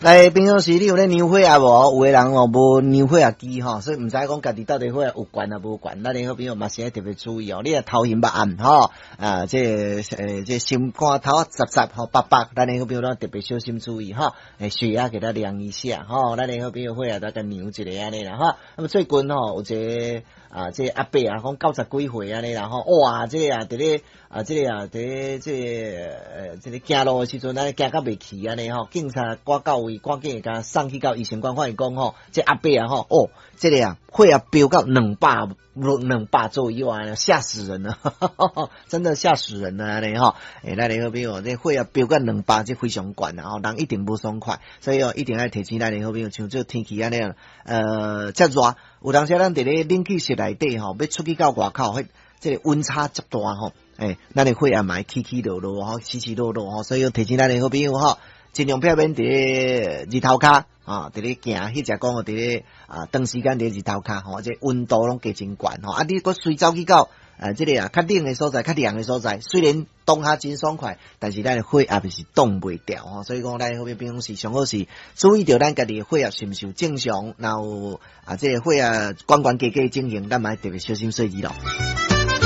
來，平常時你有咧量血壓無？有的人哦無量血壓機吼，所以毋知講家己到底血壓有懸抑無懸。咱的好朋友嘛是愛特別注意哦。你若頭暈目暗吼，啊，這個這個心肝頭雜雜吼，白白，咱的好朋友攏特別小心注意吼。血壓給他量一下吼，咱的好朋友血壓都共量一下按呢啦吼。那麼最近吼有一個啊，這個阿伯啊，講90幾歲按呢啦吼，哇，這個啊，佇咧啊，這個啊，佇咧這個這個行路的時陣，按呢行甲袂去按呢吼，警察趕到位，趕緊共送去到醫生館，發現講吼，這阿伯啊吼，哦，這個啊，血壓飆到200左右啊，嚇死人了，真的嚇死人了按呢吼。咱的好朋友，這血壓飆到兩百，這非常懸啊，吼，人一定無爽快，所以哦，一定愛提醒咱的好朋友，像這天氣按呢，遮熱，有當時咱佇咧冷氣室內底吼，欲出去到外口，彼這個溫差遮大吼，咱的血壓嘛會起起落落吼，起起落落吼，所以提醒咱的好朋友吼，盡量避免佇咧日頭跤啊，佇咧行，彼隻講佇咧啊，長時間佇咧日頭跤吼，這溫度攏加真懸吼，啊，你閣隨走去到啊，這個啊較冷的所在，較涼的所在，雖然當下真爽快，但是咱的血壓是擋袂牢吼，所以講咱好朋友平常時上好是注意著咱家己的血壓是毋是有正常，然後啊，這個血壓懸懸低低的情形，咱嘛愛特別小心細膩咯。